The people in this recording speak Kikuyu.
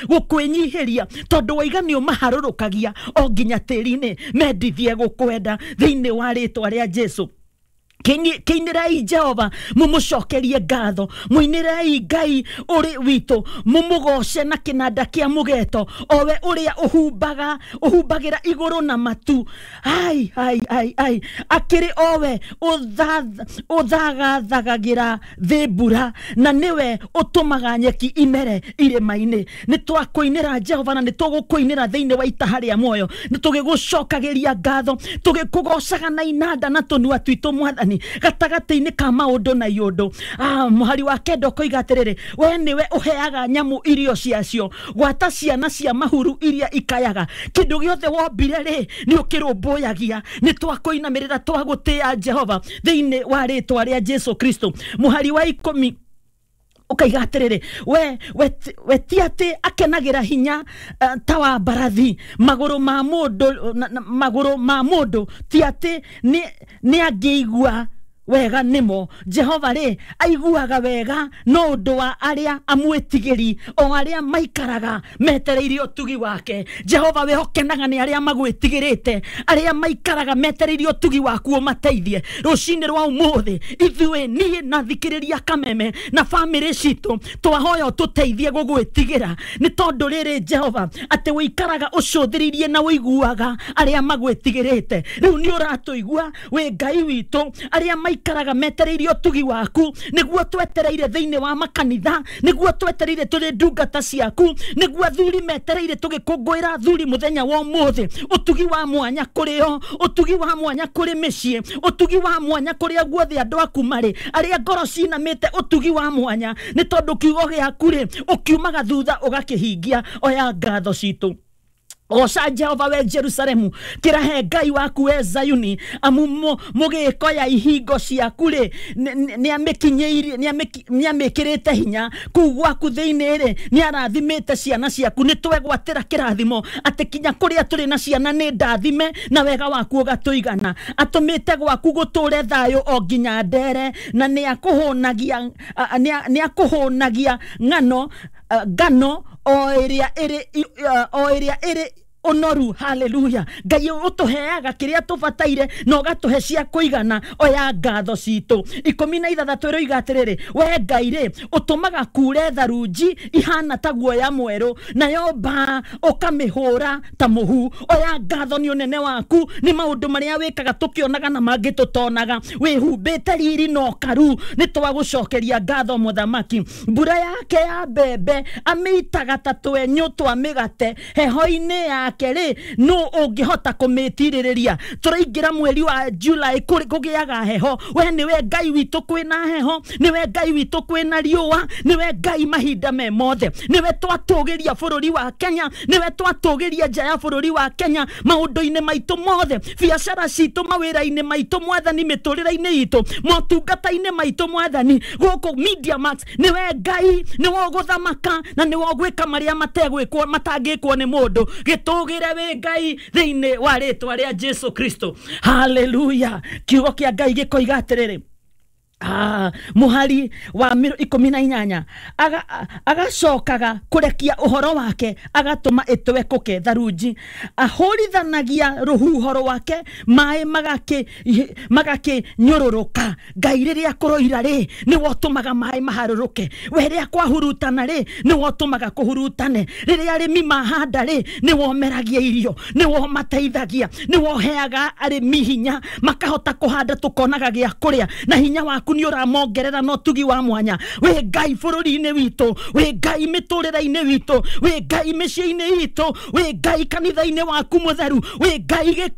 Gũkwĩnyihĩria tondũ waiga nĩ ũmaharũrũkagia o nginya tĩri-inĩ mendithie gũkwenda thĩinĩ wa rĩtwa rĩa Jesu. Kĩinĩrai Jehova mũmũcokerie ngatho, mũinĩrei Ngai ũrĩ witũ, mũmũgoce na kĩnanda kĩa mũgeto, owe ũrĩa ũhumbaga ũhumbagĩra igũrũ na matu. Ai ai ai ai, akĩrĩ owe ũthagathagagĩra thĩ mbura, na nĩwe ũtũmaga nyeki imere irĩma-inĩ. Nĩ twakũinĩra Jehova na nĩ tũgũkũinĩra thĩinĩ wa itaha rĩa muoyo, nĩ tũgĩgũcokagĩria ngatho, tũgĩkũgocaga na inanda na tũnua twitũ Mwathani, gatagatĩ-inĩ ka maũndũ na iũndũ. Mũhari wa kenda ũkoiga atĩrĩrĩ, we nĩwe ũheaga nyamũ irio ciacio, gwata ciana cia mahuru iria ikayaga. Kĩndũ gĩothe wombire rĩ, nĩ ũkĩrũmbũyagia. Nĩ twakũinamĩrĩra, twagũtĩĩa Jehova thĩinĩ wa rĩtwa rĩa Jesu Kristo. Mũhari wa 10 ũkaiga atĩrĩrĩ, we ti atĩ akenagĩra hinya ta wa mbarathi, magũrũ ma mũndũ magũrũ ma mũndũ ti atĩ nĩ angĩigua wega nĩmo. Jehova rĩ, aiguaga wega no ũndũ wa arĩa amwĩtigĩri, o arĩa maikaraga metereire ũtugi wake. Jehova, we ũkenaga nĩ arĩa magwĩtigĩrĩte, arĩa maikaraga metereire ũtugi waku ũmateithie. Rũcinĩ rwa ũmũthĩ ithuĩ, niĩ na thikĩrĩria kameme na bamĩrĩ citũ, twahoya ũtũteithie gũgwĩtigĩra, nĩ tondũ rĩrĩ Jehova, atĩ ũikaraga ũcũthĩrĩirie na ũiguaga arĩa magwĩtigĩrĩte. Rĩu nĩ ũratũigua wĩ Ngai witũ, arĩa maikaraga metereire ũtugi waku, nĩguo twetereire thĩinĩ wa makanitha, nĩguo twetereire tũrĩ ndungata ciaku, nĩguo athuri metereire tũgĩkũngũĩra athuri mũthenya wa ũmũthĩ. Ũtugi wa mwanya kũrĩ o, ũtugi wa mwanya kũrĩ mĩciĩ, ũtugi wa mwanya kũrĩa guothe andũ aku marĩ, arĩa ngoro cinamĩte, ũtugi wa mwanya, nĩ tondũ kiugo gĩaku rĩ, ũkiumaga thutha ũgakĩhingia. Oya ngatho citũ. Goca Jehova we Jerusalemu, kĩrahe Ngai waku we Zayuni, amu mũgĩko ya ihingo ciaku rĩ, nĩamĩkinyĩirie, nĩamĩkĩrĩte hinya. Kũu gwaku thĩinĩ rĩ, nĩarathimĩte ciana ciaku. Nĩ twegwatĩra kĩrathimo atĩ kinya kũrĩa tũrĩ na ciana nĩ ndathime, na wega waku ũgatũigana. Atũmĩte gwaku gũtũre thayũ o nginya ndere, na nĩakũhũnagia nĩakũhũnagia ng'ano ngano o ĩrĩa ĩrĩ o ĩrĩa ĩrĩ ũnoru. Haleluya! Ngai ũtũheaga kĩrĩa tũbataire na ũgatũhe cia kũigana. Oya ngatho citũ. 16 ĩroiga atĩrĩrĩ, we Ngai rĩ, ũtũmaga kure tharunji ihana ta guoya mwerũ, nayo mbaa ũkamĩhũra ta mũhu. Oya ngatho nĩ ũnene waku, nĩ maũndũ marĩa wĩkaga tũkĩonaga na mangĩ tũtonaga. Wĩhumbĩte riri na ũkaru, nĩ twagũcokeria ngatho mũthamaki. Mbura yake ya mbembe amĩitaga ta twenyũ twa mĩgate, heho-inĩ yake rĩ, nũ ũngĩhota kũmĩtirĩrĩria? Tũraingĩra mweri wa July, kũgĩaga heho. We nĩwe Ngai witũ kwĩna heho, nĩwe Ngai witũ kwĩna riũa, nĩwe Ngai mahinda me mothe. Nĩwe twatũgĩria bũrũri wa Kenya, nĩwe twatũgĩria nja ya bũrũri wa Kenya, maũndũ-inĩ maitũ mothe, biacara citũ, mawĩra-inĩ maitũ Mwathani, mĩtũrĩre-inĩ itũ, motungata-inĩ maitũ Mwathani, gũkũ Media Max, nĩwe Ngai, nĩwe ũgũthamaka na nĩwe ũgwĩka marĩa mategwĩkwo, matangĩkwo nĩ mũndũ. Gĩtũgĩre wĩ Ngai thĩinĩ wa rĩtwa rĩa Jesu Kristo. Haleluya! Kiugo kĩa Ngai gĩkoiga atĩrĩrĩ, mũhari wa 18, agacokaga kũrekia ũhoro wake, agatũma ĩtwekũke tharunji, ahũrithanagia rũhuho rwake, maĩ magakĩnyũrũrũka. Ngai, rĩrĩa kũroira rĩ, nĩwe ũtũmaga maĩ maharũrũke. We rĩrĩa kwahurutana rĩ, nĩwe ũtũmaga kũhurutane. Rĩrĩa arĩmi mahanda rĩ, nĩwe ũmeragia irio, nĩwe ũmateithagia, nĩwe ũheaga arĩmi hinya makahota kũhanda, tũkonaga gĩa kũrĩa, na hinya waku nĩ ũramongerera na ũtugi wa mwanya. Wĩ Ngai bũrũri-inĩ witũ, wĩ Ngai mĩtũrĩre-inĩ witũ, wĩ Ngai mĩciĩ-inĩ itũ, wĩ Ngai kanitha-inĩ waku mũtheru, wĩ Ngai.